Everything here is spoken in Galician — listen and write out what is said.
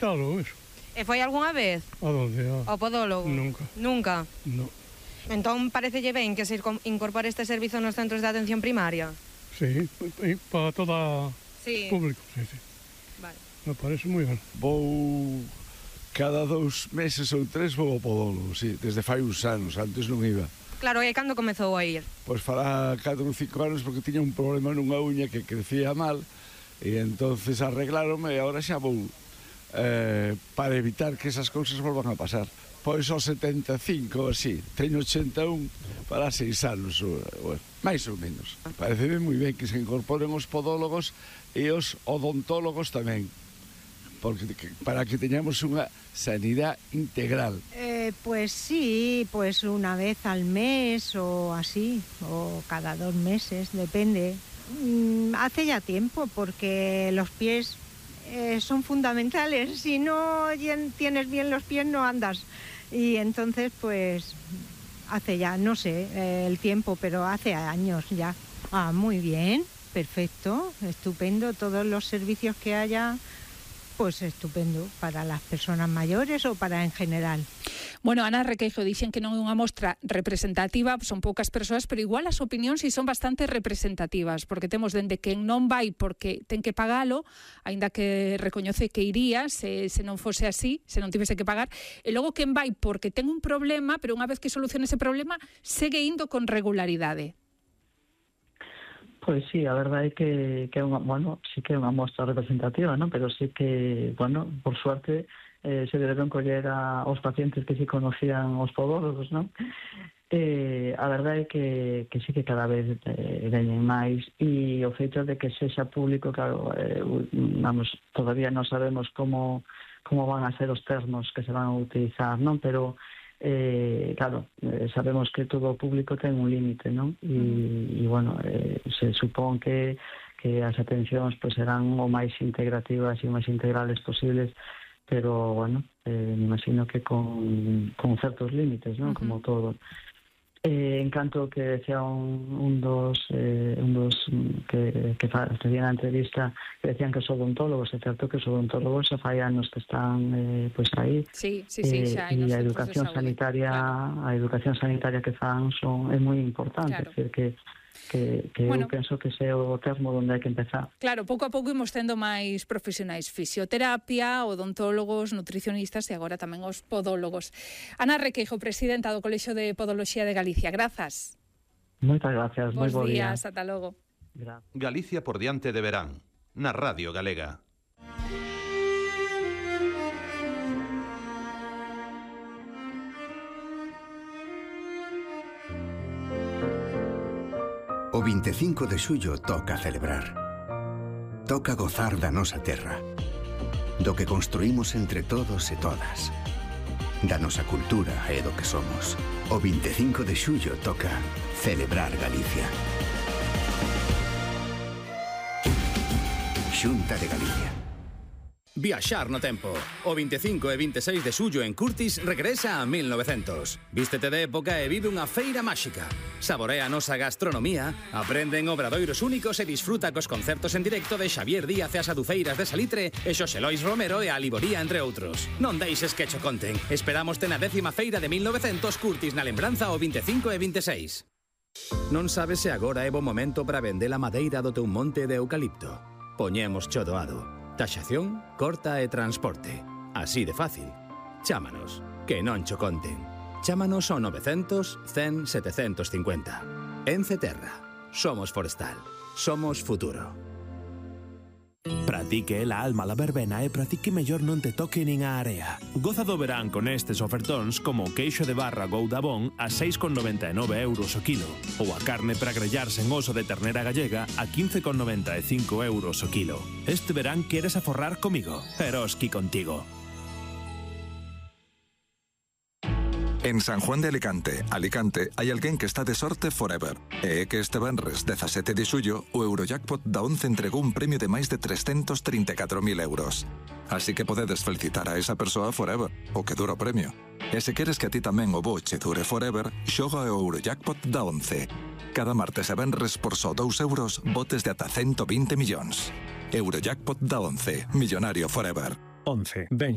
Claro, eso. E foi algunha vez? A donde? Ao podólogo? Nunca. Nunca? No. Entón, parecelle ben que se incorpore este servizo nos centros de atención primaria? Sí, para toda Sí. público, sí. Vale. Me parece moi ben. Vou cada 2 meses ou 3 vou ao podólogo, sí, desde fai uns anos, antes non iba. Claro, e cando comezou a ir? Pois fará 4 ou 5 anos porque tiña un problema nunha uña que crecía mal e entonces arreglaronme e agora xa vou para evitar que esas cousas volvan a pasar. Pois aos 75, así, teño 81 para 6 anos, bueno, máis ou menos. Pareceme moi ben que se incorporen os podólogos e os odontólogos tamén, porque para que teñamos unha sanidade integral. Pues sí, pues una vez al mes o así, o cada 2 meses, depende. Hace ya tiempo, porque los pies son fundamentales. Si no tienes bien los pies, no andas. Y entonces, pues, hace ya, no sé el tiempo, pero hace años ya. Ah, muy bien, perfecto, estupendo. Todos los servicios que haya, pues estupendo, para las personas mayores ou para en general. Bueno, Ana Requeijo, dixen que non é unha mostra representativa, son poucas persoas, pero igual as opinións si son bastante representativas, porque temos dende quen non vai porque ten que pagalo, aínda que recoñece que iría se non fose así, se non tivese que pagar, e logo quen vai porque ten un problema, pero unha vez que solucione ese problema, segue indo con regularidade. Pois sí, a verdade é que é unha, bueno, sí que é unha mostra representativa, ¿no? Pero sí que, bueno, por suerte se deberon coller aos pacientes que sí conocían os podólogos, ¿no? A verdade é que sí que cada vez veñen máis, e o feito de que sexa público, claro, vamos, todavía non sabemos como van a ser os termos que se van a utilizar, non? Pero claro, sabemos que todo o público ten un límite, non? E bueno, se supón que as atencións pues, serán o máis integrativas e o máis integrales posibles, pero bueno, me imagino que con certos límites, non? Como todo. En canto que decía un dos que facían a entrevista, que decían que os odontólogos, é certo que os odontólogos xa fai anos que están pois aí. Sí, xa hai. E a educación sanitaria, claro. A educación sanitaria que fan é moi importante, claro. É dicir que bueno, eu penso que ese é o termo onde hai que empezar. Claro, pouco a pouco imos tendo máis profesionais, fisioterapia, odontólogos, nutricionistas e agora tamén os podólogos. Ana Requeijo, presidenta do Colexio de Podoloxía de Galicia, grazas. Moitas gracias, moi bo día. Bos días, ata logo. Galicia por diante de verán, na Radio Galega. O 25 de xullo toca celebrar. Toca gozar da nosa terra, do que construímos entre todos e todas, da nosa cultura e do que somos. O 25 de xullo toca celebrar Galicia. Xunta de Galicia. Viaxar no tempo. O 25 e 26 de xullo en Curtis regresa a 1900. Vístete de época e vive unha feira máxica. Saborea a nosa gastronomía, aprende en obradoiros únicos e disfruta cos concertos en directo de Xavier Díaz e as Aduceiras de Salitre e Xosé Lois Romero e a Liboría, entre outros. Non deixes que cho conten. Esperámoste na 10ª feira de 1900 Curtis na lembranza o 25 e 26. Non sabes se agora é bo momento para vender a madeira do teu monte de eucalipto. Poñemos cho doado. Taxación, corta e transporte. Así de fácil. Chámanos, que non cho conten. Chámanos ao 900 100 750. Ence Terra. Somos forestal. Somos futuro. Pratique la alma la verbena e pratique mellor non te toque nin a area. Goza do verán con estes ofertóns como o queixo de barra Goudabón a 6,99 euros o kilo ou a carne para grellarse en oso de ternera gallega a 15,95 euros o kilo. Este verán queres aforrar comigo, Eroski contigo. En San Juan de Alicante, hai alguén que está de sorte forever. E é que este venres 17 de xullo o Eurojackpot da 11 entregou un premio de máis de 334.000 euros. Así que podedes felicitar a esa persoa forever, o que dura o premio. E se queres que a ti tamén o boche dure forever, xoga o Eurojackpot da 11. Cada martes e venres por só 2 euros, botes de ata 120 millóns. Eurojackpot da 11, millonario forever. 11. Ven